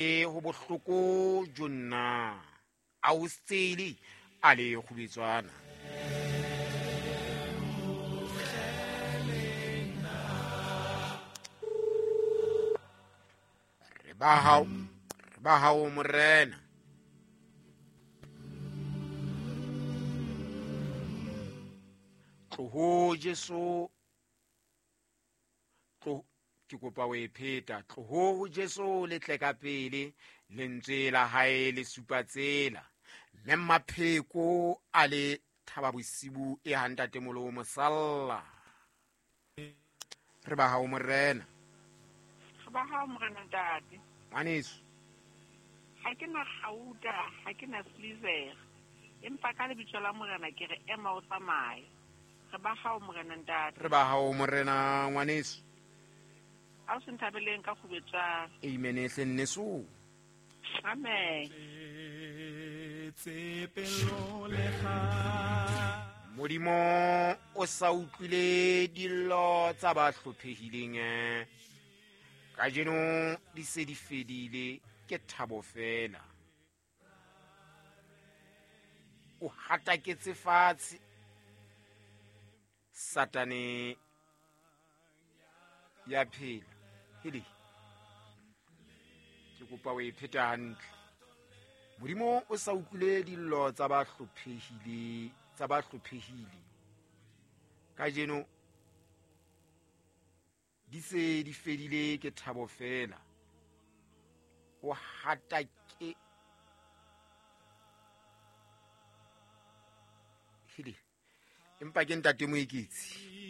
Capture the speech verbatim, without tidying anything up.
Ho bohloko jonna a o sele a le kgubetswana. Re ba hao, re ba hao morena. Tloho Jesu, tlo ke kopa o e pheta. Tloho ho Jesu le tle ka pele, lentswe la hae le supa tsela. Mme Mapheko a le thaba bosibu e ha ntatemolo mosalla. Re ba hao morena. Re ba hao morena ntate. Ngwaneso. Ha ke na kgauta, ha ke na silver. Empa ka lebitso la morena ke re ema o tsamaye. Re ba hao morena ntate. Re ba hao morena ngwaneso. A o se nthabeleng ka kgubetswana. Amen hle nneso. Amen. Modimo o sa utlwile dillo tsa ba hlophehileng. Kajeno di se di fedile, ke thabo fela. O hataketse fatshe Satane ya phela. Hele, ke kopa o e pheta hantle. Modimo o sa utlwile dillo tsa ba hlophehile, tsa ba hlophehile. Kajeno di se di fedile, ke thabo fela. O hatake. Hele, empa ke ntate Moeketsi.